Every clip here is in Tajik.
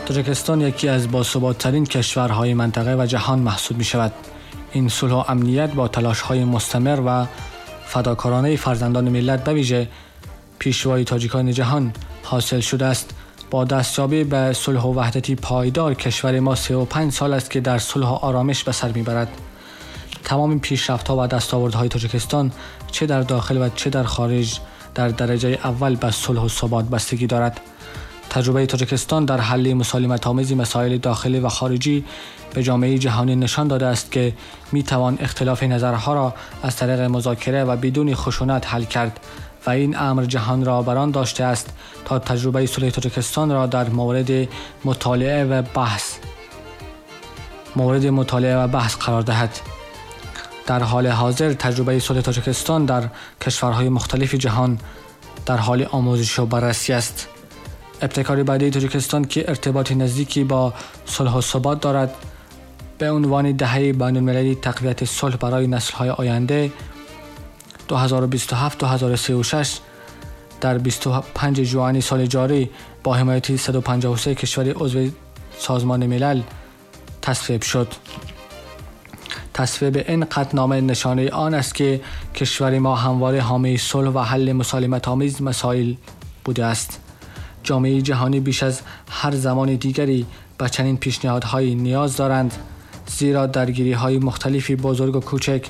تاجیکستان یکی از باثبات‌ترین کشورهای منطقه و جهان محسوب می‌شود. این صلح و امنیت با تلاش‌های مستمر و فداکارانه فرزندان ملت به ویژه پیشوای تاجیکان جهان حاصل شده است. با دستیابی به صلح و وحدتی پایدار کشور ما 35 سال است که در صلح و آرامش به سر می‌برد. تمام پیشرفت‌ها و دستاوردهای تاجیکستان چه در داخل و چه در خارج در درجه اول به صلح و ثبات بستگی دارد. تجربه تاجیکستان در حل مسالمت‌آمیز مسائل داخلی و خارجی به جامعه جهانی نشان داده است که می‌توان اختلاف نظرها را از طریق مذاکره و بدون خشونت حل کرد و این امر جهان را بر آن داشته است تا تجربه صلح تاجیکستان را در مورد مطالعه و بحث قرار دهد. در حال حاضر تجربه صلح تاجیکستان در کشورهای مختلف جهان در حال آموزش و بررسی است. ابتکار بعدی تاجیکستان که ارتباط نزدیکی با صلح و ثبات دارد به عنوان دهه بین‌المللی تقویت صلح برای نسل‌های آینده 2027-2036 در 25 ژوئن سال جاری با حمایت 153 کشور عضو سازمان ملل تصویب شد. تصویب این قطعنامه نشانه آن است که کشور ما همواره حامی صلح و حل مسالمت‌آمیز مسائل بوده است. جامعه جهانی بیش از هر زمان دیگری به چنین پیشنهادهایی نیاز دارند، زیرا درگیری‌های مختلفی بزرگ و کوچک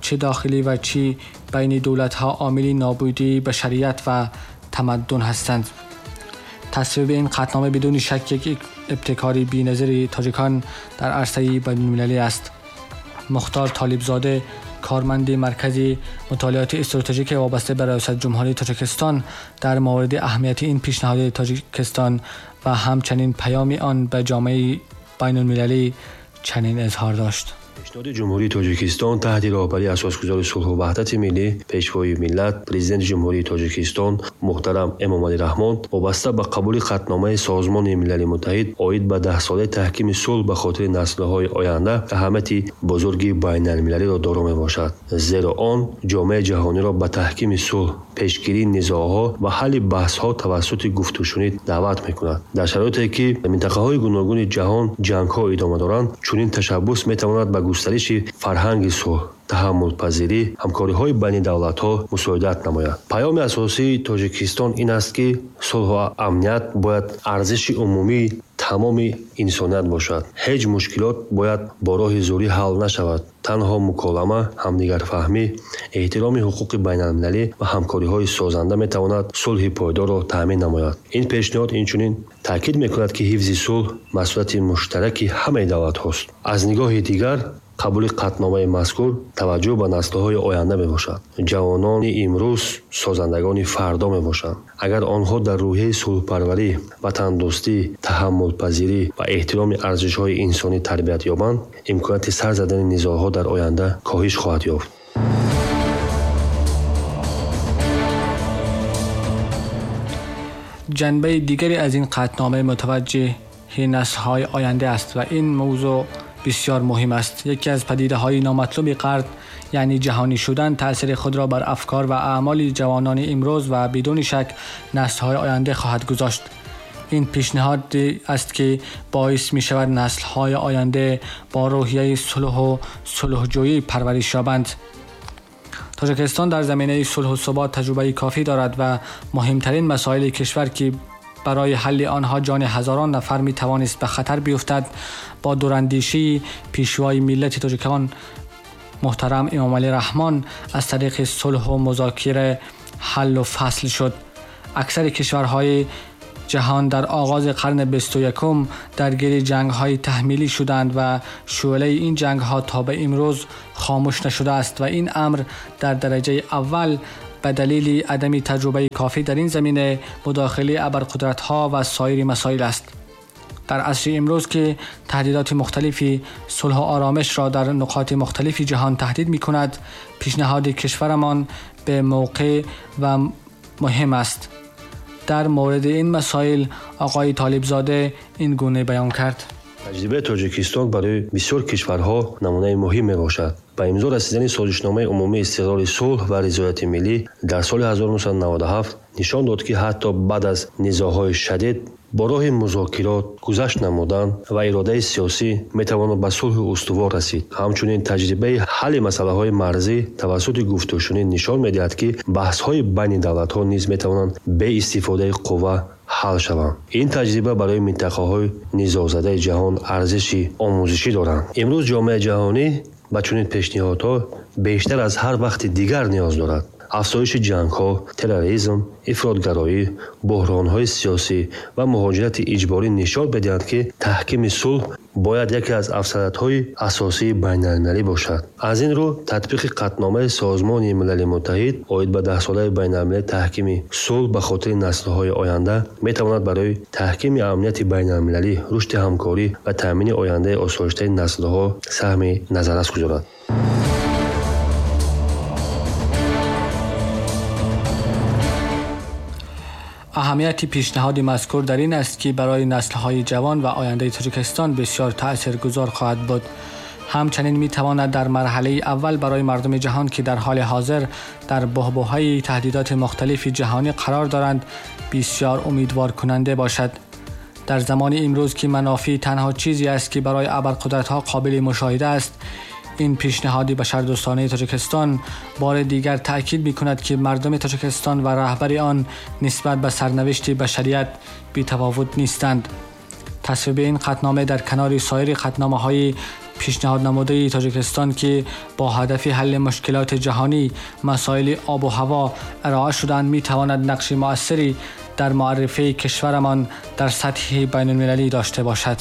چه داخلی و چه بین دولت‌ها عامل نابودی بشریت و تمدن هستند. تصویب این قطعنامه بدون شک یک ابتکاری بی‌نظیر تاجیکان در عرصه بین‌المللی است. مختار طالبزاده، کارمند مرکز مطالعات استراتژیک وابسته به ریاست جمهوری تاجیکستان، در مورد اهمیت این پیشنهاد تاجیکستان و همچنین پیام آن به جامعه بین‌المللی چنین اظهار داشت. Пешниҳоди Ҷумҳурии Тоҷикистон таҳти роҳбарии асосгузори сулҳу ваҳдати миллӣ, Пешвои миллат, Президенти Ҷумҳурии Тоҷикистон муҳтарам Эмомалӣ Раҳмон вобаста ба қабули қатъномаи Созмони Милали Муттаҳид оид ба даҳсолаи таҳкими сулҳ ба хотири наслҳои оянда аҳамияти бузурги байналмилалиро доро мебошад, зеро он ҷомеаи ҷаҳониро ба таҳкими сулҳ, пешгирии низоъҳо ва ҳалли баҳсҳо тавассути гуфтушунид даъват мекунад. Дар шароите ки минтақаҳои гуногуни ҷаҳон ҷангҳо идома доранд, чунин ташаббус метавонад ба густариши фарҳанги сулҳ, таҳаммулпазирӣ, ҳамкориҳои байни давлатҳо мусоидат намояд. Паёми асосии Тоҷикистон ин аст, ки сулҳу амният бояд арзиши умумии тамоми инсоният бошад. Ҳеҷ мушкилот бояд бо роҳи зӯрӣ ҳал нашавад. Танҳо муколама, ҳамдигарфаҳмӣ, эҳтироми ҳуқуқи байналмилалӣ ва ҳамкориҳои созанда метавонад сулҳи пойдорро таъмин намояд. Ин пешниҳод инчунин таъкид мекунад, ки ҳифзи сулҳ масъулияти муштараки ҳамаи давлатҳост. Аз нигоҳи дигар, қабули қатъномаи мазкур таваҷҷӯҳ ба наслҳои оянда мебошад. Ҷавонони имрӯз созандагони фардо мебошанд. Агар онҳо дар рӯҳияи сулҳпарварӣ, ватандӯстӣ, таҳаммулпазирӣ ва эҳтироми арзишҳои инсонӣ тарбият ёбанд, имконияти сар задани низоъҳо дар оянда коҳиш хоҳад ёфт. ҷанбаи дигаре аз ин қатънома мутаваҷҷеҳи наслҳои оянда аст ва ин мавзӯъ бисёр муҳим аст. Яке аз падидаҳои номатлуби қарн, яъне ҷаҳонӣ шудан, таъсири худро бар афкор ва аъмоли ҷавонони имрӯз ва бидуни шак наслҳои оянда хоҳад гузошт. Ин пешниҳод аст ки боис мешавад наслҳои оянда бо рӯҳияи сулҳу сулҳҷӯӣ парвариш ёбанд. Тоҷикистон дар заминаи сулҳу ثبات таҷрибаи кофӣ дорад ва муҳимтарин масоили кишвар ки барои ҳалли онҳо ҷони ҳазорон нафар метавонист ба хатар биёфтад, бо дурандешии пешвои миллати тоҷикон муҳтарам Эмомалӣ Раҳмон аз тариқи сулҳу музокира ҳаллу фасл шуд. Аксари кишварҳои ҷаҳон дар оғози қарни 21 даргири ҷангҳои таҳмилӣ шуданд ва шӯълаи ин ҷангҳо то ба имрӯз хомӯш нашудааст ва ин амр дар дараҷаи аввал ба далели عدم تجربه کافی در این زمینه، مداخله ابرقدرت‌ها و سایر مسائل است. در عصر امروز که تهدیدات مختلفی صلح و آرامش را در نقاط مختلف جهان تهدید می‌کند، پیشنهاد کشورمان به موقع و مهم است. در مورد این مسائل آقای طالبزاده این گونه بیان کرد. Таҷрибаи Тоҷикистон барои бисёр кишварҳо намунаи муҳим мебошад. Ба имзо расидани созишномаи умумии истиқрори сулҳ ва ризояти миллӣ дар соли 1997 нишон дод, ки ҳатто баъд аз низоъҳои шадид Бо роҳи музокирот, гузашт намудан ва иродаи сиёсӣ метавон ба сулҳи устувор расид. Ҳамчунин таҷрибаи ҳалли масъалаҳои марзӣ тавассути гуфтушунид нишон медиҳад, ки баҳсҳои байни давлатҳо низ метавонанд бе истифодаи қувва ҳал шаванд. Ин таҷриба барои минтақаҳои низоъзадаи ҷаҳон арзиши омӯзишӣ доранд. Имрӯз ҷомеаи ҷаҳонӣ ба чунин пешниҳодҳо бештар аз ҳар вақти дигар ниёз дорад. Афзоиши ҷангҳо, терроризм, ифротгароӣ, буҳронҳои сиёсӣ ва муҳоҷирати иҷборӣ нишон медиҳанд, ки таҳкими сулҳ бояд яке аз афзалиятҳои асосии байналмилалӣ бошад. Аз ин рӯ, татбиқи қатъномаи Созмони Милали Муттаҳид оид ба Даҳсолаи байналмилалии таҳкими сулҳ ба хотири наслҳои оянда метавонад барои таҳкими амнияти байналмилалӣ, рушди ҳамкорӣ ва таъмини ояндаи осоиштаи наслҳо саҳми назаррас гузорад. Аҳамияти пешниҳоди мазкур дар ин аст, ки барои наслҳои ҷавон ва ояндаи Тоҷикистон бисёр таъсиргузор хоҳад буд. Ҳамчунин метавонад дар марҳалаи аввал барои мардуми ҷаҳон, ки дар ҳоли ҳозир дар баҳбаҳаи таҳдидоти мухталифи ҷаҳонӣ қарор доранд, бисёр умедворкунанда бошад. Дар замони имрӯз, ки манофеъ танҳо чизе аст, ки барои абарқудратҳо қобили мушоҳида аст, ин пешниҳоди башардӯстонаи Тоҷикистон бори дигар таъкид мекунад, ки мардуми Тоҷикистон ва раҳбари он нисбат ба сарнавишти башарият бетафовут нестанд. Тасвиби ин қатънома дар канори соири қатъномаҳои пешниҳоднамудаи Тоҷикистон, ки бо ҳадафи ҳалли мушкилоти ҷаҳонӣ, масоили об ва ҳаво ироа шуданд, метавонад нақши муассире дар муаррифии кишварамон дар сатҳи байналмилалӣ дошта бошад.